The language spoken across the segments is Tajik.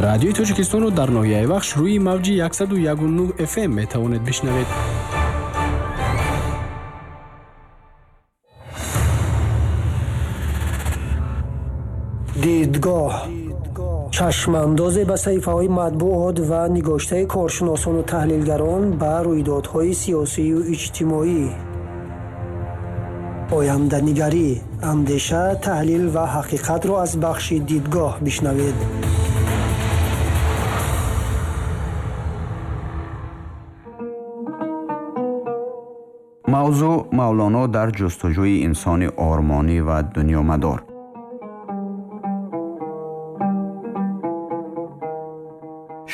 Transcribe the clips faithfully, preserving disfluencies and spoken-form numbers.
Радиои Тоҷикистонро дар ноҳияи Вахш рӯи мавҷи яксаду яку нӯҳ эф эм метавонед бишнавед. Дидгоҳ чашмандозе ба саҳифаҳои матбуот ва нигоштаи коршиносону таҳлилгарон ба рӯйдодҳои сиёсию иҷтимоӣ. Оянданигарӣ, андеша, таҳлил ва ҳақиқатро аз бахши дидгоҳ бишнавед. Мавзӯъ Мавлоно дар ҷустуҷӯи инсони ормонӣ ва дунёмадор.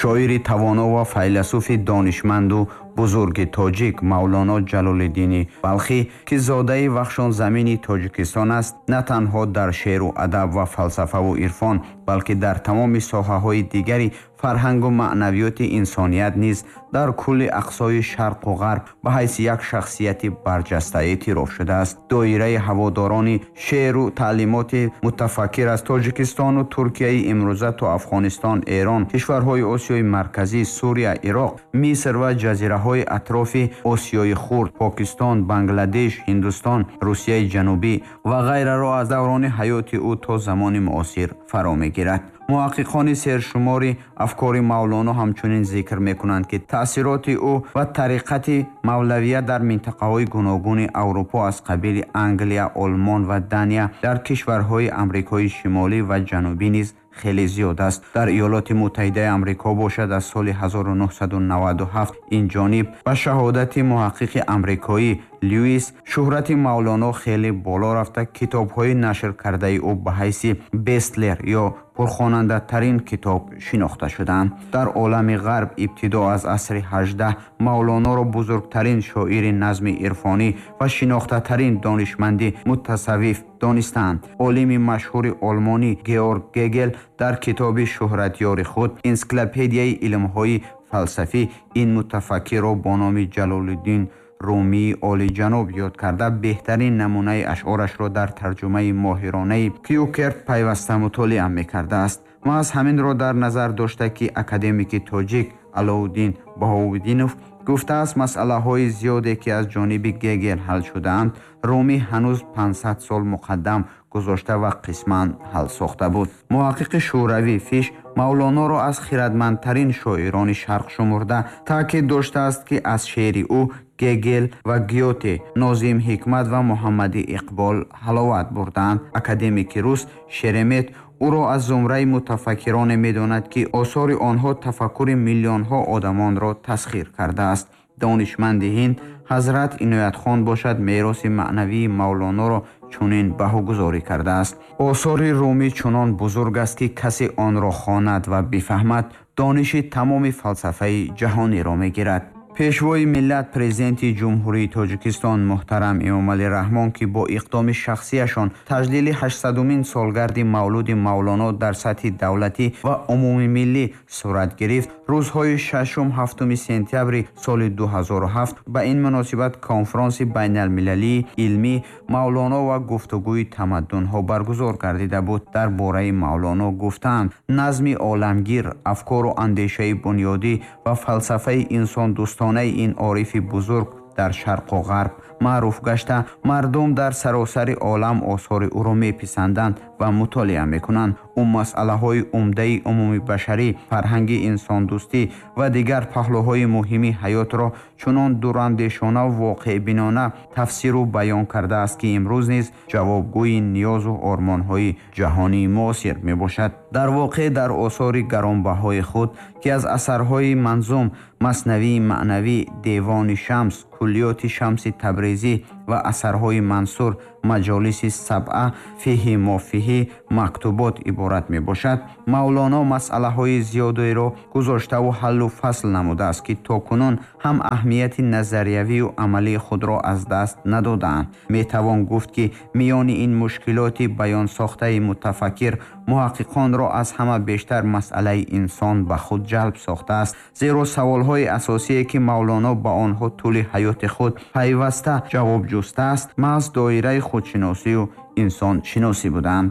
Шоири тавоно ва файласуфи донишманду бузурги тоҷик Мавлоно Ҷалолиддини Балхӣ, ки зодаи вахшонзамини Тоҷикистон аст, на танҳо дар шеъру адаб ва фалсафаву ирфон, балки дар тамоми соҳаҳои дигари фарҳангу маънавиёти инсоният низ дар кулли ақсои шарқу ғарб ба ҳайси як шахсияти барҷаста эътироф шудааст. Доираи ҳаводорони шеъру таълимоти мутафаккир аз Тоҷикистону Туркияи имрӯза то Афғонистон, Эрон, кишварҳои Осиёи Марказӣ, Сурия, Ироқ, Миср ва ҷазираҳои атрофи Осиёи Хурд, Покистон, Бангладеш, Ҳиндустон, Русияи Ҷанубӣ ва ғайраро аз даврони ҳаёти ӯ то замони муосир фаро мегирад. Муҳаққиқони сершумори афкори Мавлоно ҳамчунин зикр мекунанд, ки таъсироти ӯ ва тариқати мавлавия дар минтақаҳои гуногуни Аврупо аз қабили Англия, Олмон ва Дания, дар кишварҳои Амрикои Шимолӣ ва Ҷанубӣ низ хеле зиёд аст. Дар Иёлоти Муттаҳидаи Амрико бошад, аз соли ҳазору нӯҳсаду наваду ҳафт ин ҷониб ба шаҳодати муҳаққиқи амрикоӣ Льюис шӯҳрати Мавлоно хеле боло рафта, китобҳои нашр кардаи ӯ ба ҳайси бестлер ё пурхонандатарин китоб шинохта шуданд. Дар олами ғарб ибтидо аз асри ҳаждаҳ Мавлоноро бузургтарин шоири назми ирфонӣ ва шинохтатарин донишманди мутасаввиф донистанд. Олими машҳури олмонӣ Георг Гегел дар китоби шӯҳратёри худ Энсиклопедияи илмҳои фалсафӣ ин мутафаккирро бо номи Ҷалолиддин Румии олиҷаноб ёд карда, беҳтарин намунаи ашъорашро дар тарҷумаи моҳиронаи Кюкерт пайваста мутолиа мекардааст. Маҳз ҳаминро дар назар дошта, ки академики тоҷик Алоуддин Баҳоуддинов гуфтааст, масъалаҳои зиёде ки аз ҷониби Гегел ҳал шудаанд, Румӣ ҳанӯз панҷсад сол муқаддам гузошта ва қисман ҳал сохта буд. Муҳаққиқи шӯравӣ Фиш Мавлоноро аз хирадмандтарин шоирони шарқ шумурда, таъкид доштааст, ки аз шеъри ӯ Гегел ва Гёте, Нозим Ҳикмат ва Муҳаммади Иқбол ҳаловат бурдаанд. Академики рус Шеремет ӯро аз зумраи мутафаккироне медонад, ки осори онҳо тафаккури миллионҳо одамонро тасхир кардааст. Донишманди ҳинд Ҳазрат Иноятхон бошад, мероси маънавии Мавлоноро чунин баҳогузорӣ кардааст. Осори Румӣ чунон бузург аст, ки касе онро хонад ва бифаҳмад, дониши тамоми фалсафаи ҷаҳониро мегирад. Пешвои миллат, президенти Ҷумҳурии Тоҷикистон муҳтарам Эмомалӣ Раҳмон, ки бо иқдоми шахсияшон таҷлили ҳаштсадумин солгарди мавлуди Мавлоно дар сатҳи давлатӣ ва умумимиллӣ сурат гирифт, рӯзҳои шашум ҳафтуми сентябри соли ду ҳазору ҳафт ба ин муносибат конфронси байналмилалии илмӣ Мавлоно ва гуфтугӯи тамаддунҳо баргузор гардида буд. Дар бораи Мавлоно гуфтаанд: назми оламгир, афкору андешаи бунёдӣ ва фалсафаи инсондӯстона ин орифи бузург дар шарқу ғарб маъруф гашта, мардум дар саросари олам осори ӯро меписанданд ва мутолиа мекунанд. Ӯ масъалаҳои умдаи умумибашарӣ, фарҳанги инсондӯстӣ ва дигар паҳлӯҳои муҳими ҳаётро чунон дурандешона ва воқеъбинона тафсиру баён кардааст, ки имрӯз низ ҷавобгӯи ниёзу ормонҳои ҷаҳонии муосир мебошад. Дар воқеъ дар осори гаронбаҳои худ, ки аз асарҳои манзум, маснавии маънавӣ, девони Шамс, куллиёти Шамси Табрезӣ ва асарҳои Мансур, маҷолиси сабъа, фиҳи мофиҳӣ, мактубот иборат мебошад, Мавлоно масъалаҳои зиёдеро гузоштаву ҳаллу фасл намудааст, ки то кунун ҳам аҳамияти назариявию амалии худро аз даст надодаанд. Метавон гуфт, ки миёни ин мушкилоти баёнсохтаи мутафаккир муҳаққиқонро аз ҳама бештар масъалаи инсон ба худ ҷалб сохтааст, зеро саволҳои асосие ки Мавлоно ба онҳо тӯли ҳаёти худ пайваста ҷавоб ҷустааст, маҳз доираи худшиносию инсоншиносӣ буданд.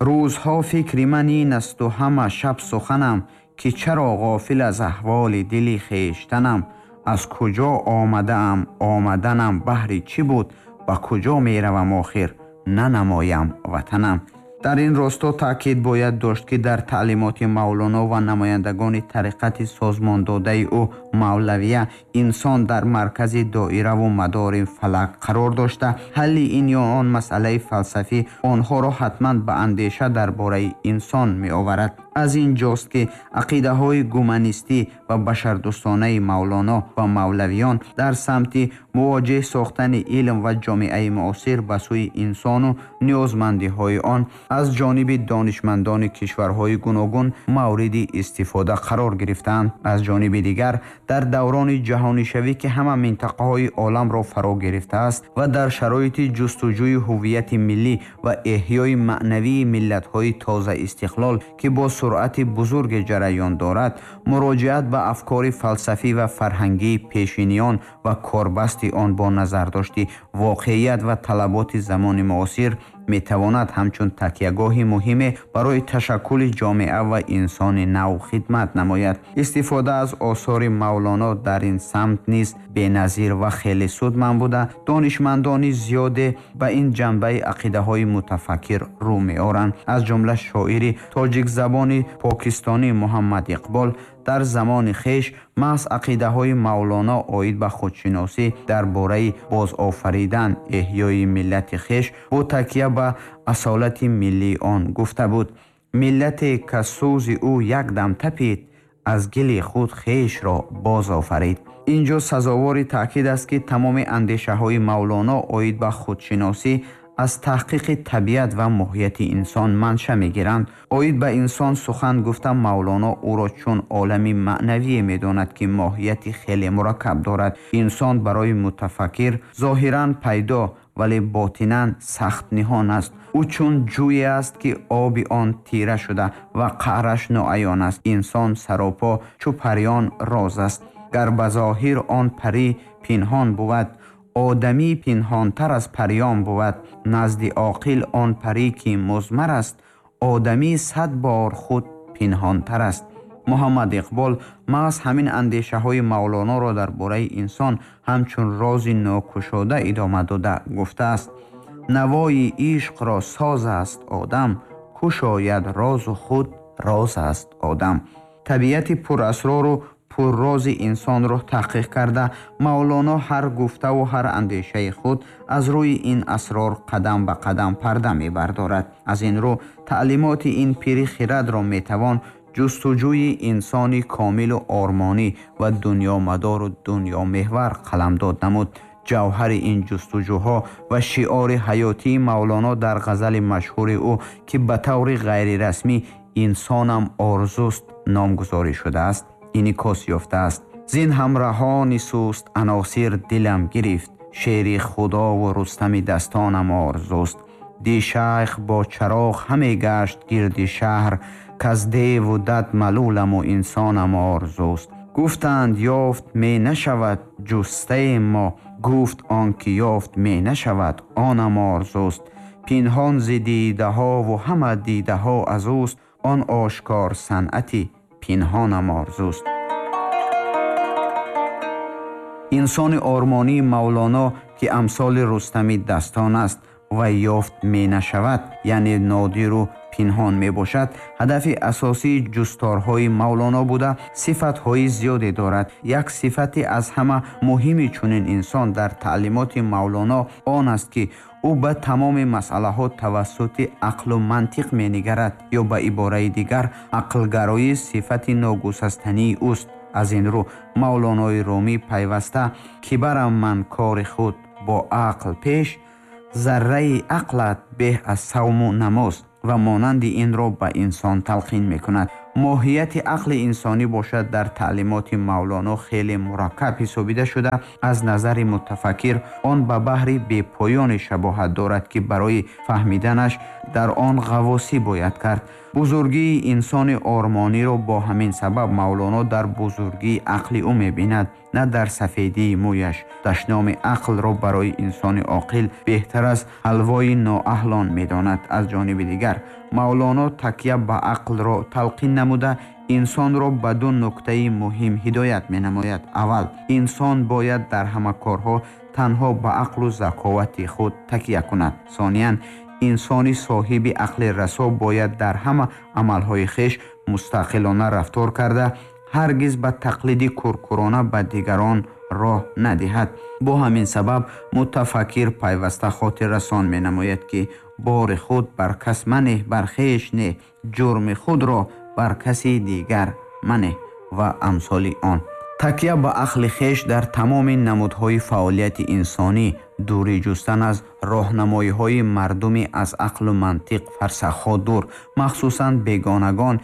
Рӯзҳо фикри ман ин асту ҳама шаб суханам, ки чаро ғофил аз аҳволи дили хештанам, аз куҷо омадаам, омаданам баҳри чӣ буд, ба куҷо меравам охир, нанамоям ватанам. Дар ин росто таъкид бояд дошт, ки дар таълимоти Мавлоно ва намояндагони тариқати созмондодаи ӯ Мавлавия инсон дар маркази доираву мадори фалак қарор дошта, ҳалли ин ё он масъалаи фалсафӣ онҳоро ҳатман ба андеша дар бораи инсон меоварад. Аз ин ҷост, ки ақидаҳои гуманистӣ ва башардӯстонаи Мавлоно ва мавлавиён дар самти мувоҷеҳ сохтани илм ва ҷомеаи муосир ба сӯи инсону ниёзмандиҳои он аз ҷониби донишмандони кишварҳои гуногун мавриди истифода қарор гирифтаанд. Аз ҷониби дигар, дар даврони ҷаҳонишавӣ, ки ҳама минтақаҳои оламро фаро гирифтааст ва дар шароити ҷустуҷӯи ҳуввияти миллӣ ва эҳёи маънавии миллатҳои тоза истиқлол, ки бо суръати бузурге ҷараён дорад, муроҷиат ба афкори фалсафӣ ва фарҳангии пешиниён ва корбасти он бо назардошти воқеият ва талаботи замони муосир метавонад ҳамчун такягоҳи муҳиме барои ташаккули ҷомеа ва инсони нав хидмат намояд. Истифода аз осори Мавлоно дар ин самт низ беназир ва хеле судманд буда, донишмандони зиёде ба ин ҷанбаи ақидаҳои мутафаккир рӯ меоранд. Аз ҷумла шоири тоҷикзабони покистонӣ Муҳаммад Иқбол дар замони хеш маҳз ақидаҳои Мавлоно оид ба худшиносӣ дар бораи бозофаридан эҳёи миллати хеш бо такя ба асолати миллии он гуфта буд: миллате ка сӯзи ӯ як дам тапид, аз гили худ хешро бозофарид. Инҷо сазовори таъкид аст, ки тамоми андешаҳои Мавлоно оид ба худшиносӣ аз таҳқиқи табиат ва моҳияти инсон манша мегиранд. Оид ба инсон сухан гуфта, Мавлоно ӯро чун олами маънавие медонад, ки моҳияти хеле мураккаб дорад. Инсон барои мутафаккир зоҳиран пайдо, вале ботинан сахт ниҳон аст. Ӯ чун ҷӯе аст, ки оби он тира шуда ва қаъраш ноаён аст. Инсон саропо чу париён роз аст. Гар ба зоҳир он парӣ пинҳон бувад, одамӣ пинҳонтар аз париён бувад. Назди оқил он парӣ ки музмар аст, одамӣ сад бор худ пинҳонтар аст. Муҳаммад Иқбол маҳз ҳамин андешаҳои Мавлоноро дар бораи инсон ҳамчун рози нокушода идома дода гуфтааст: навои ишқро соз аст одам, кушояд розу худ роз аст одам. Табиати пурасрору пуррози инсонро таҳқиқ карда, Мавлоно ҳар гуфтаву ҳар андешаи худ аз рӯи ин асрор қадам ба қадам парда мебардорад. Аз ин рӯ таълимоти ин пири хирадро метавон ҷустуҷӯи инсони комилу ормонӣ ва дунёмадору дунёмеҳвар қаламдод намуд. Ҷавҳари ин ҷустуҷӯҳо ва шиори ҳаётии Мавлоно дар ғазали машҳури ӯ, ки ба таври ғайрирасмӣ «Инсонам орзуст» номгузорӣ шудааст, инъикос ёфтааст. Зин ҳамраҳони суст аносир дилам гирифт, шери худову Рустами дастонам орзуст. Ди шайх бо чароғ ҳаме гашт гирди шаҳр, каз деву дад малуламу инсонам орзуст. Гуфтанд ёфт ме нашавад ҷустаи мо, гуфт он ки ёфт ме нашавад онам орзуст. Пинҳон зи дидаҳову ҳама дидаҳо аз ӯст, он ошкор санъати пинҳонам орзуст. Инсони ормонии Мавлоно, ки амсоли Рустами дастон аст ва ёфт менашавад, яъне нодиру пинҳон мебошад, ҳадафи асосии ҷусторҳои Мавлоно буда, сифатҳои зиёде дорад. Як сифати аз ҳама муҳими чунин инсон дар таълимоти Мавлоно он аст, ки ӯ ба тамоми масъалаҳо тавассути ақлу мантиқ менигарад, ё ба ибораи дигар ақлгароӣ сифати ногусастании ӯст. Аз ин рӯ Мавлонои Румӣ пайваста ки барам ман кори худ бо ақл пеш, зарраи ақлат беҳ аз савму намоз ва монанди инро ба инсон талқин мекунад. Моҳияти ақли инсонӣ бошад дар таълимоти Мавлоно хеле мураккаб ҳисобида шуда, аз назари мутафаккир он ба баҳри бепоёне шабоҳат дорад, ки барои фаҳмиданаш дар он ғаввосӣ бояд кард. Бузургии инсони ормониро бо ҳамин сабаб Мавлоно дар бузургии ақли ӯ мебинад, на дар сафедии мӯяш. Дашноми ақлро барои инсони оқил беҳтар аз ҳалвои ноаҳлон медонад. Аз ҷониби дигар Мавлоно такя ба ақлро талқин намуда, инсонро ба ду нуктаи муҳим ҳидоят менамояд. Аввал, инсон бояд дар ҳама корҳо танҳо ба ақлу заковати худ такя кунад. Сониян, инсони соҳиби ақли расо бояд дар ҳама амалҳои хеш мустақилона рафтор карда, ҳаргиз ба тақлиди куркурона ба дигарон роҳ надиҳад. Бо ҳамин сабаб мутафаккир пайваста хотиррасон менамояд, ки бори худ бар кас манеҳ, бар хеш не, ҷурми худро бар каси дигар манеҳ ва амсоли он. Такя ба ақли хеш дар тамоми намудҳои фаъолияти инсонӣ, дурӣ ҷустан аз роҳнамоиҳои мардуми аз ақлу мантиқ фарсахҳо дур, махсусан бегонагон,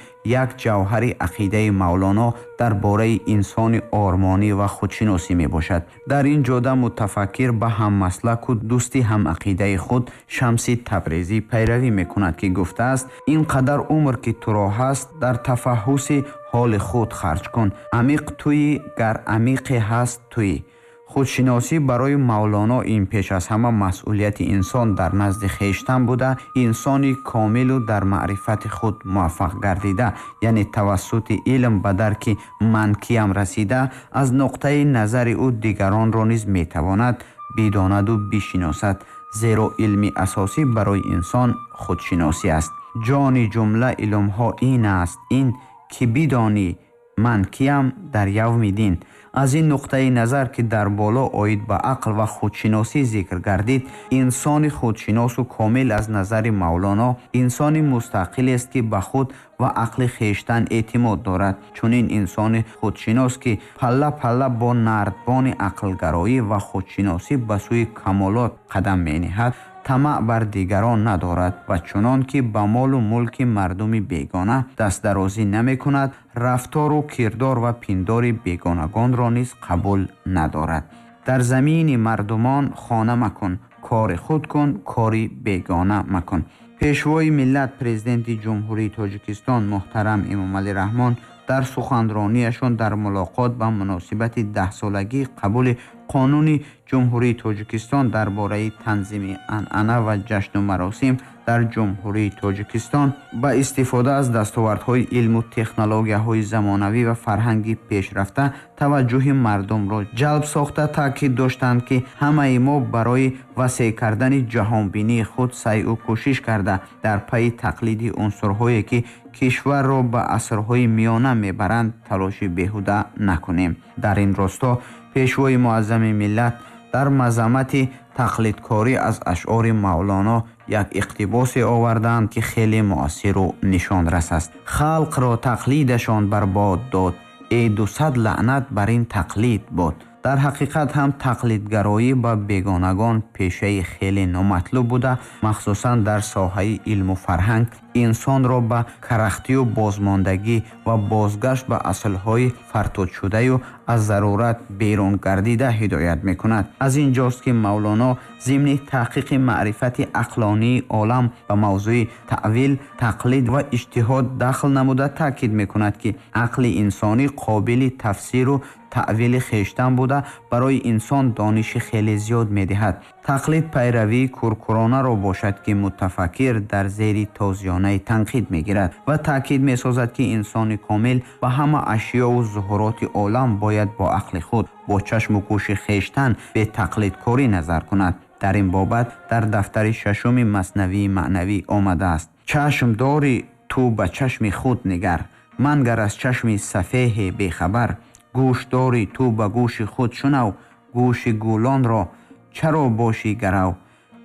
як ҷавҳари ақидаи Мавлоно дар бораи инсони ормонӣ ва худшиносӣ мебошад. Дар ин ҷода мутафаккир ба ҳаммаслаку дӯсти ҳамақидаи худ Шамси Табрезӣ пайравӣ мекунад, ки гуфтааст: ин қадар умр ки туро ҳаст, дар тафаҳҳуси ҳоли худ харҷ кун. Амиқ туӣ, гар амиқе ҳаст туӣ. Худшиносӣ барои Мавлоно ин пеш аз ҳама масъулияти инсон дар назди хештан буда, инсони комилу дар маърифати худ муваффақ гардида, яъне тавассути илм ба дарки ман киям расида, аз нуқтаи назари ӯ дигаронро низ метавонад бидонаду бишиносад, зеро илми асосӣ барои инсон худшиносӣ аст. Ҷони ҷумла илмҳо ин аст, ин ки бидонӣ ман киям дар явми дин. Аз ин нуқтаи назар, ки дар боло оид ба ақл ва худшиносӣ зикр гардид, инсони худшиносу комил аз назари Мавлоно инсони мустақилест, ки ба худ ва ақли хештан эътимод дорад. Чунин инсони худшинос, ки палла-палла бо нардбони ақлгароӣ ва худшиносӣ ба сӯи камолот қадам мениҳад, тамаъ бар дигарон надорад ва чунон ки ба молу мулки мардуми бегона дастдарозӣ намекунад, рафтору кирдор ва пиндори бегонагонро низ қабул надорад. Дар замини мардумон хона макун, кори худ кун, кори бегона макун. Пешвои миллат, президенти Ҷумҳурии Тоҷикистон муҳтарам Эмомалӣ Раҳмон дар суханрониашон дар мулоқот ба муносибати даҳсолагии қабули қонуни Ҷумҳурии Тоҷикистон дар бораи танзими анъана ва ҷашну маросим дар Ҷумҳурии Тоҷикистон ба истифода аз дастовардҳои илму технологияҳои замонавӣ ва фарҳанги пешрафта таваҷҷӯҳи мардумро ҷалб сохта, таъкид доштанд, ки ҳамаи мо барои васеъ кардани ҷаҳонбинии худ сайъу кӯшиш карда, дар пайи тақлиди унсурҳое ки кишварро ба асрҳои миёна мебаранд, талоши беҳуда накунем. Дар ин росто пешвои муаззами миллат дар мазаммати тақлидкорӣ аз ашъори Мавлоно як иқтибосе оварданд, ки хеле муассиру нишонрас аст. Халқро тақлидашон барбод дод, э дусад лаънат бар ин тақлид бод. Дар ҳақиқат ҳам тақлидгароӣ ба бегонагон пешаи хеле номатлуб буда, махсусан дар соҳаи илму фарҳанг инсонро ба карахтию бозмондагӣ ва бозгашт ба аслҳои фартудшудаю аз зарурат берун гардида ҳидоят мекунад. Аз ин ҷост, ки Мавлоно зимни таҳқиқи маърифати ақлонии олам ба мавзӯи таъвил, тақлид ва иҷтиҳод дахл намуда таъкид мекунад, ки ақли инсонӣ қобили тафсиру таъвили хештан буда, барои инсон дониши хеле зиёд медиҳад. Тақлид пайравии куркуронаро бошад, ки мутафаккир дар зери тозиёнаи танқид мегирад ва таъкид месозад, ки инсони комил ба ҳама ашёву зуҳуроти олам бояд бо ақли худ, бо чашму гӯши хештан бетақлидкорӣ назар кунад. Дар ин бобат дар дафтари шашуми Маснавии маънавӣ омадааст: чашм дори ту ба чашми худ нигар, мангар аз чашми сафеҳе бехабар. Гӯш дори ту ба гӯши худ шунав, гӯши гулонро чаро бошӣ гарав.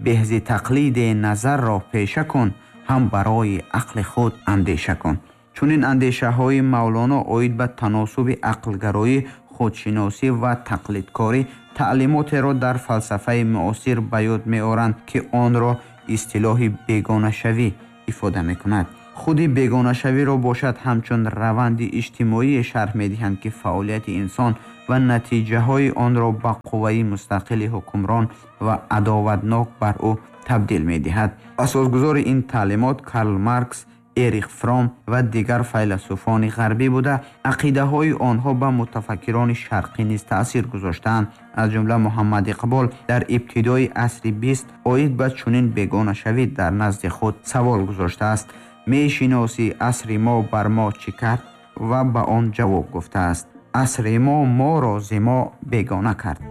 Беҳзи тақлиде назарро пеша кун, ҳам барои ақли худ андеша кун. Чунин андешаҳои Мавлоно оид ба таносуби ақлгароӣ, худшиносӣ ва тақлидкорӣ таълимотеро дар фалсафаи муосир ба ёд меоранд, ки онро истилоҳи бегонашавӣ ифода мекунад. Худи бегонашавиро бошад ҳамчун раванди иҷтимоие шарҳ медиҳанд, ки фаъолияти инсон ва натиҷаҳои онро ба қувваи мустақили ҳукмрон ва адоватнок бар ӯ табдил медиҳад. Асосгузори ин таълимот Карл Маркс, Эрих Фром ва дигар файласуфони ғарбӣ буда, ақидаҳои онҳо ба мутафаккирони шарқӣ низ таъсир гузоштаанд. Аз ҷумла Муҳаммад Иқбол дар ибтидои асри бист оид ба чунин бегонашавӣ дар назди худ савол гузоштааст: мешиносӣ асри мо бар мо чӣ кард? ва ба он ҷавоб гуфтааст: асри мо моро зи мо бегона кард.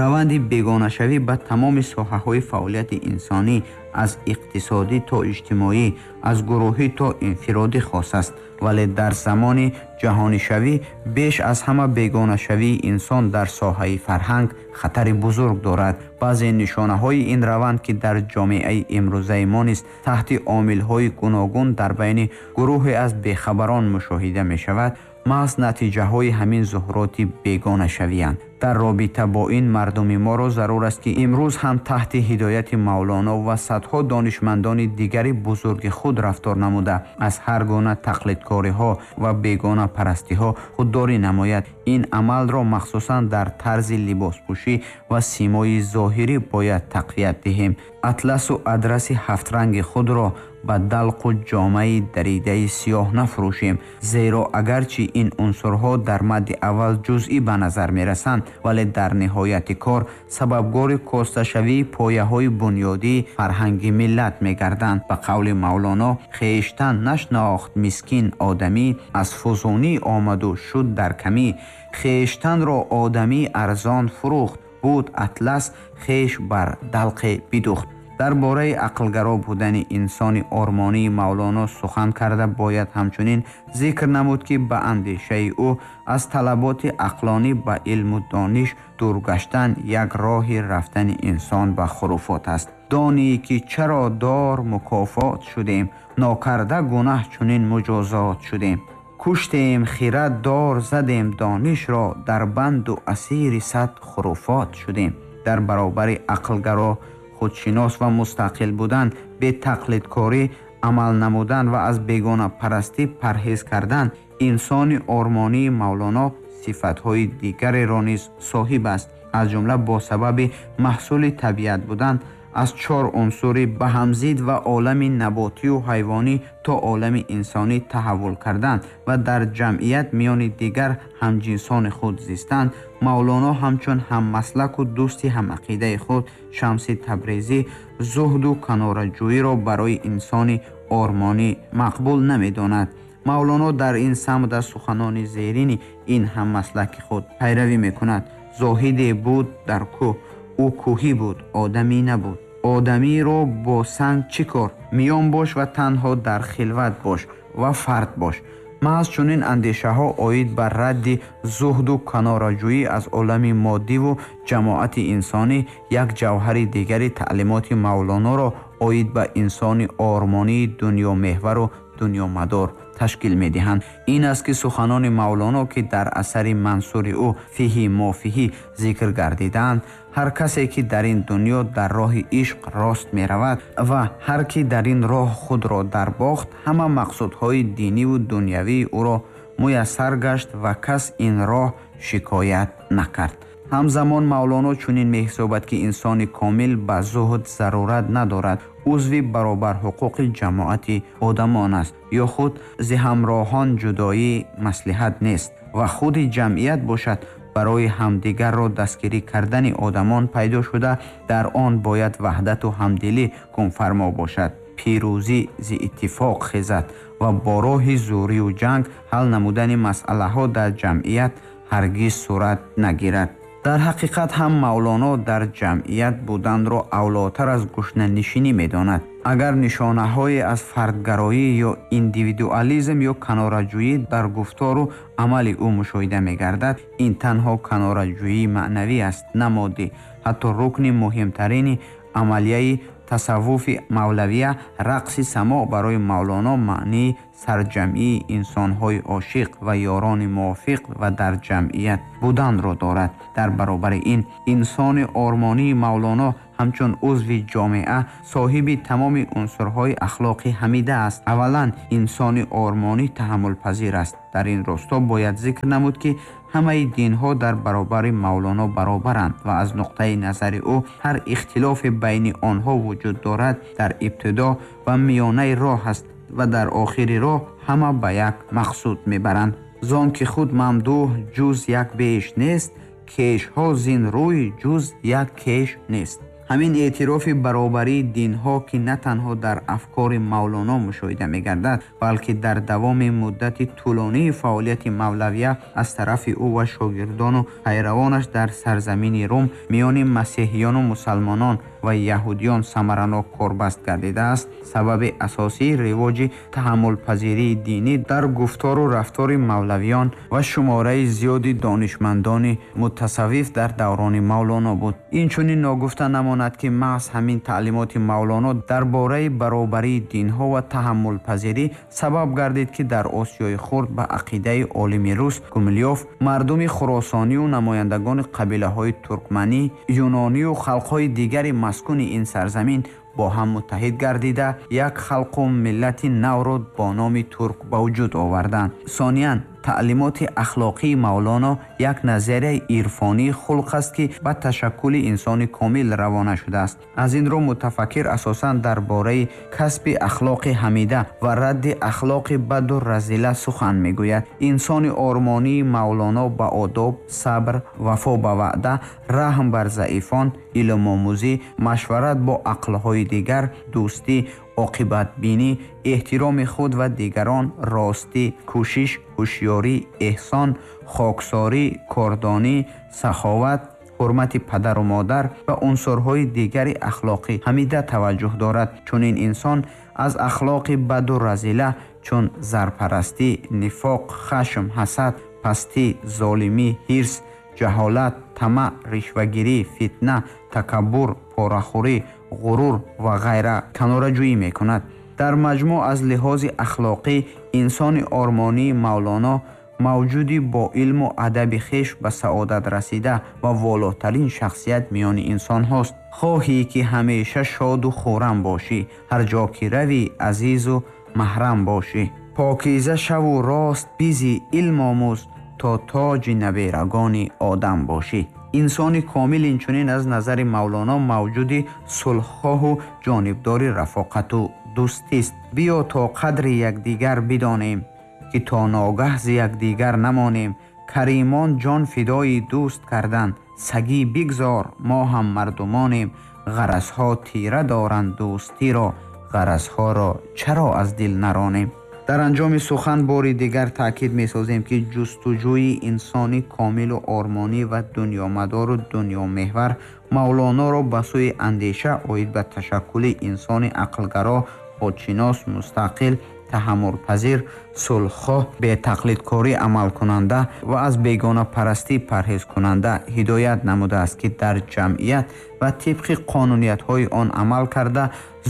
Раванди бегонашавӣ ба тамоми соҳаҳои фаъолияти инсонӣ аз иқтисодӣ то иҷтимоӣ, аз гурӯҳӣ то инфиродӣ хос аст, вале дар замони ҷаҳонишавӣ беш аз ҳама бегонашавии инсон дар соҳаи фарҳанг хатари бузург дорад. Баъзе нишонаҳои ин раванд, ки дар ҷомеаи имрӯзаи мо низ таҳти омилҳои гуногун дар байни гурӯҳе аз бехабарон мушоҳида мешавад, маҳз натиҷаҳои ҳамин зуҳуроти бегонашавиянд. Дар робита бо ин мардуми моро зарур аст, ки имрӯз ҳам таҳти ҳидояти Мавлоно ва садҳо донишмандони дигари бузурги худ рафтор намуда, аз ҳар гуна тақлидкориҳо ва бегонапарастиҳо худдорӣ намояд. Ин амалро махсусан дар тарзи либоспӯшӣ ва симои зоҳирӣ бояд тақвият диҳем. Атласу адраси ҳафтранги худро ба далқу ҷомаи даридаи сиёҳ нафурӯшем, зеро агарчи ин унсурҳо дар мадди аввал ҷузъӣ ба назар мерасанд, вале дар ниҳояти кор сабабгори косташавии пояҳои бунёдии фарҳанги миллат мегарданд. Ба қавли Мавлоно, хештан нашнохт мискин одамӣ, аз фузунӣ омаду шуд дар камӣ. Хештанро одамӣ арзон фурӯхт, буд атлас хеш бар далқе бидухт. Дар бораи ақлгаро будани инсони ормонии Мавлоно сухан карда бояд ҳамчунин зикр намуд, ки ба андешаи ӯ аз талаботи ақлонӣ ба илму дониш дур гаштан як роҳи рафтани инсон ба хуруфот аст. Донӣ ки чаро дор мукофот шудем, нокарда гунаҳ чунин муҷозот шудем. Куштем хирад дор задем донишро, дар банду асири сад хуруфот шудем. Дар баробари ақлгаро худшинос ва мустақил будан, бетақлидкорӣ амал намудан ва аз бегонапарастӣ парҳез кардан, инсони ормонии Мавлоно сифатҳои дигареро низ соҳиб аст. Аз ҷумла бо сабаби маҳсули табиат будан аз чор унсури ба ҳамзид ва олами наботию ҳайвонӣ то олами инсонӣ таҳаввул кардан ва дар ҷамъият миёни дигар ҳамҷинсони худ зистан, Мавлоно ҳамчун ҳаммаслаку дӯсти ҳамақидаи худ Шамси Табрезӣ зуҳду канораҷӯиро барои инсони ормонӣ мақбул намедонад. Мавлоно дар ин самт аз суханони зерини ин ҳаммаслаки худ пайравӣ мекунад. Зоҳиде буд дар кӯҳ, ӯ кӯҳӣ буд, одамӣ набуд. Одамиро бо санг чӣ кор? Миён бош ва танҳо дар хилват бош ва фард бош. Маҳз чунин андешаҳо оид ба радди зуҳду канораҷӯӣ аз олами моддиву ҷамоати инсонӣ як ҷавҳари дигари таълимоти Мавлоноро оид ба инсони ормонии дунёмеҳвару дунёмадор ташкил медиҳанд. Ин аст, ки суханони Мавлоно, ки дар асари мансури ӯ фиҳи мофиҳӣ зикр гардидаанд, ҳар касе ки дар ин дунё дар роҳи ишқ рост меравад ва ҳар ки дар ин роҳ худро дарбохт, ҳама мақсудҳои диниву дунявии ӯро муяссар гашт ва кас ин роҳ шикоят накард. Ҳамзамон Мавлоно чунин меҳисобад, ки инсони комил ба зуҳд зарурат надорад, узви баробарҳуқуқи ҷамоати одамон аст ё худ зи ҳамроҳон ҷудоӣ маслиҳат нест ва худи ҷамъият бошад барои ҳамдигарро дастгирӣ кардани одамон пайдо шуда, дар он бояд ваҳдату ҳамдилӣ ҳукмфармо бошад. Пирӯзӣ зи иттифоқ хезад ва бо роҳи зӯрию ҷанг ҳал намудани масъалаҳо дар ҷамъият ҳаргиз сурат нагирад. Дар ҳақиқат ҳам Мавлоно дар ҷамъият буданро авлотар аз гушнанишинӣ медонад. Агар нишонаҳое аз фардгароӣ ё индивидуализм ё канораҷӯӣ дар гуфтору амали ӯ мушоҳида мегардад, ин танҳо канораҷӯии маънавӣ аст, на моддӣ. Ҳатто рукни муҳимтарини амалияи тасаввуфи мавлавия рақси само барои Мавлоно маънии сарҷамъии инсонҳои ошиқ ва ёрони мувофиқ ва дар ҷамъият буданро дорад. Дар баробари ин инсони ормонии Мавлоно ҳамчун узви ҷомеа соҳиби тамоми унсурҳои ахлоқи ҳамида аст. Аввалан, инсони ормонӣ таҳаммулпазир аст. Дар ин росто бояд зикр намуд, ки ҳамаи динҳо дар баробари Мавлоно баробаранд ва аз нуқтаи назари ӯ ҳар ихтилофе байни онҳо вуҷуд дорад дар ибтидо ва миёнаи роҳ аст ва дар охири роҳ ҳама ба як мақсуд мебаранд. Зон ки худ мамдуҳ ҷуз як беш нест, кешҳо зин рӯй ҷуз як кеш нест. Ҳамин эътирофи баробарии динҳо, ки на танҳо дар афкори Мавлоно мушоҳида мегардад, балки дар давоми муддати тӯлонии фаъолияти мавлавия аз тарафи ӯ ва шогирдону пайравонаш дар сарзамини Рум миёни масеҳиёну мусалмонон ва яҳудиён самаранок корбаст гардидааст, сабаби асосии ривоҷи таҳаммулпазирии динӣ дар гуфтору рафтори мавлавиён ва шумораи зиёди донишмандони мутасаввиф дар даврони Мавлоно буд. Инчунин ногуфта намонад, ки маҳз ҳамин таълимоти Мавлоно дар бораи баробарии динҳо ва таҳаммулпазирӣ сабаб гардид, ки дар Осиёи Хурд ба ақидаи олими рус Гумилёв мардуми хуросонию намояндагони қабилаҳои туркманӣ, юнонию халқҳои дигари маскуни ин сарзамин бо ҳам муттаҳид гардида як халқу миллати навро бо номи турк ба вуҷуд оварданд. Сониян, таълимоти ахлоқии Мавлоно як назарияи ирфонии хулқ аст, ки ба ташаккули инсони комил равона шудааст. Аз ин рӯ мутафаккир асосан дар бораи касби ахлоқи ҳамида ва радди ахлоқи баду разила сухан мегӯяд. Инсони ормонии Мавлоно ба одоб, сабр, вафо ба ваъда, раҳм бар заифон, илмомӯзӣ, машварат бо ақлҳои дигар, дӯстӣ, оқибатбинӣ, эҳтироми худ ва дигарон, ростӣ, кӯшиш, ҳушёрӣ, эҳсон, хоксорӣ, кордонӣ, саховат, ҳурмати падару модар ва унсурҳои дигари ахлоқӣ ҳамида таваҷҷӯҳ дорад. Чунин инсон аз ахлоқи баду разила чун зарпарастӣ, нифоқ, хашм, ҳасад, пастӣ, золимӣ, ҳирс, ҷаҳолат, тамаъ, ришвагирӣ, фитна, такаббур, порахӯрӣ, ғурур ва ғайра канораҷӯӣ мекунад. Дар маҷмӯъ аз лиҳози ахлоқӣ инсони ормонии Мавлоно мавҷуди бо илму адаби хеш ба саодат расида ва волотарин шахсият миёни инсонҳост. Хоҳӣ ки ҳамеша шоду хуррам бошӣ, ҳар ҷо ки равӣ азизу маҳрам бошӣ. Покиза шаву рост бизӣ, илм омӯз, то тоҷи наберагони одам бошӣ. Инсони комил инчунин аз назари Мавлоно мавҷуди сулҳхоҳу ҷонибдори рафоқату дӯстист. Биё то қадри якдигар бидонем, ки то ногаҳ зи якдигар намонем. Каримон ҷон фидои дӯст карданд, сагӣ бигзор, мо ҳам мардумонем. Ғаразҳо тира доранд дӯстиро, ғаразҳоро чаро аз дил наронем? Дар анҷоми сухан бори дигар таъкид месозем, ки ҷустуҷӯи инсони комилу ормонӣ ва дунёмадору дунёмеҳвар Мавлоноро ба сӯи андеша оид ба ташаккули инсони ақлгаро, худшинос, мустақил, таҳаммулпазир, сулҳхоҳ, бетақлидкорӣ амалкунанда ва аз бегонапарастӣ парҳезкунанда ҳидоят намудааст, ки дар ҷамъият ва тибқи қонуниятҳои он амал карда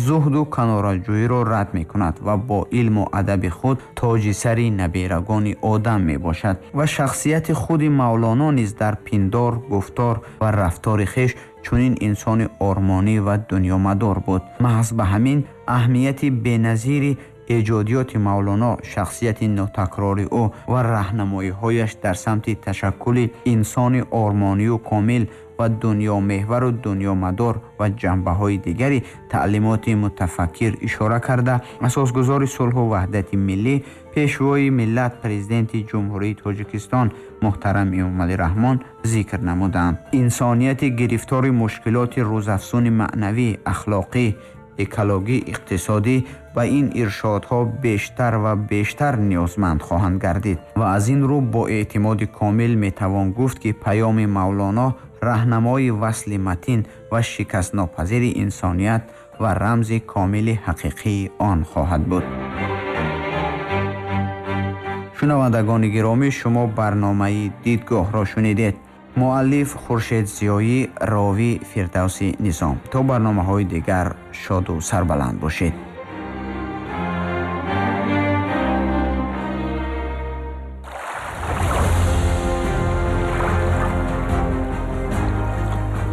зуҳду канораҷӯиро рад мекунад ва бо илму адаби худ тоҷи сари наберагони одам мебошад. Ва шахсияти худи Мавлоно низ дар пиндор, гуфтор ва рафтори хеш чунин инсони ормонӣ ва дунёмадор буд. Маҳз ба ҳамин аҳамияти беназири эҷодиёти Мавлоно, шахсияти нотакрори ӯ ва раҳнамоиҳояш дар самти ташаккули инсони ормонию комил ва дунёмеҳвару дунёмадор ва ҷанбаҳои дигари таълимоти мутафаккир ишора карда, асосгузори сулҳу ваҳдати миллӣ, пешвои миллат, президенти Ҷумҳурии Тоҷикистон муҳтарам Эмомалӣ Раҳмон зикр намуданд. Инсонияти гирифтори мушкилоти рӯзафзуни маънавӣ, ахлоқӣ, экологӣ, иқтисодӣ ба ин иршодҳо бештар ва бештар ниёзманд хоҳанд гардид ва аз ин рӯ бо эътимоди комил метавон гуфт, ки паёми Мавлоно раҳнамои васли матин ва шикастнопазири инсоният ва рамзи комили ҳақиқии он хоҳад буд. Шунавандагони гиромӣ, шумо барномаи Дидгоҳро шунидед. Муаллиф Хуршед Зиёӣ, ровӣ Фирдавси Низом. То барномаҳои дигар шоду сарбаланд бошед.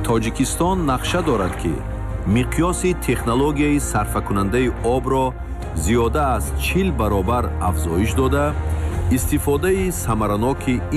Тоҷикистон нақша дорад, ки миқёси технологияи сарфакунандаи обро зиёда аз чил баробар афзоиш дода, истифодаи самараноки